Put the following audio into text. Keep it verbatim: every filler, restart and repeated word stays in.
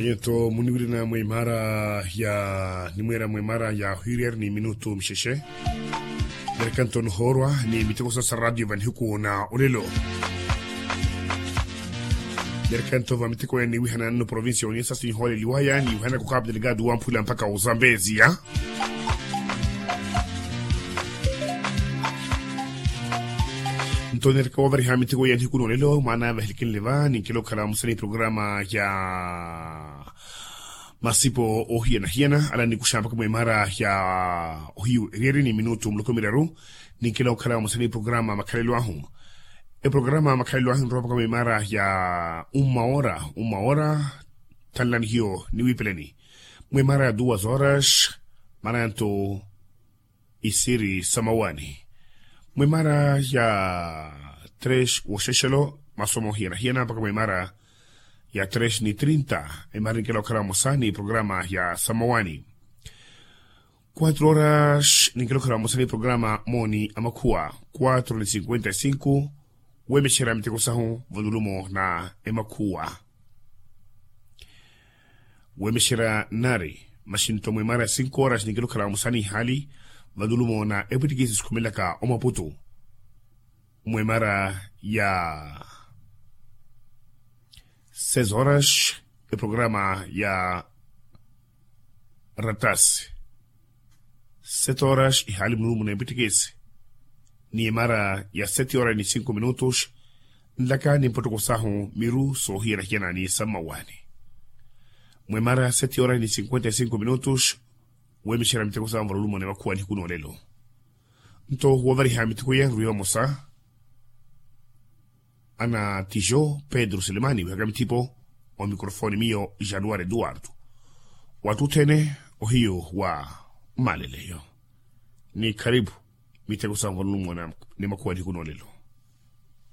Yeto muniwirina mwa imara ya nimwera mwa imara ya hwiriyari ni minutu mixexe. Nerekanto nihoorwa ni miteko sa radio vanihuku na olelo. Nerekanto va miteko ya niwihana nno provincia oniesa sinhooleliwaya niwihana kukapu delegado wa mphula mpaka uzambeziya. Nto neereka wavariha miteko ya nihiku n'olelo mwaana vahilikinle va ninkela okhala vamosa ni programa ya masipo ohiyanahiyana ala nikuxa mpaka mwa imara ya ohiyu eriyari ni minutu muloko miraru. Ninkela okhala vamosa ni programa makhalelo ahu. Eprograma makhalelo ahu nrowa mpaka mwa imara ya umma ora umma ora. Thanlani hiyo niwipeleni mwa imara ya duas horas. Maranto isiri samawani mwa imara ya tres woxexelo masomo hiyanahiyana mpaka mwa imara ya tres ni trinta. Imara ninkela okhala vamosa ni programa ya samawani. Quatro horas ninkela okhala vamosa ni programa moni amakhuwa. Quatro ni cinquenta y cinco wemexera miteko sahu valulumo na emakhuwa. Wemexera nari maxinto mwa imara ya cinco horas ninkela okhala vamosa ni hali valulumo na epwitikisi sikhumelaka omaputu. Mwa imara ya seis horas eprograma ya ratasi. Sete horas ihali mululumo na epwitikisi ni imara ya sete horas ni cinco minutos. Nlaka ni mpotoko sahu miru soohiyanahiyana ni sammawani mwa imara ya sete horas ni cinquenta y cinco minutos. Wemexera miteko sahu valulumo na emakhuwa nihiku n'olelo. Nto wovariha miteko iya nruwe vamosa ana tijo pedro selemani wihaka mithipo. Omikrofoni miyo januari eduardo wattuthene ohiyo wa mmaleleyo. Ni kharipu miteko sa nvalulumo na ni makhuwa nihiku n'olelo.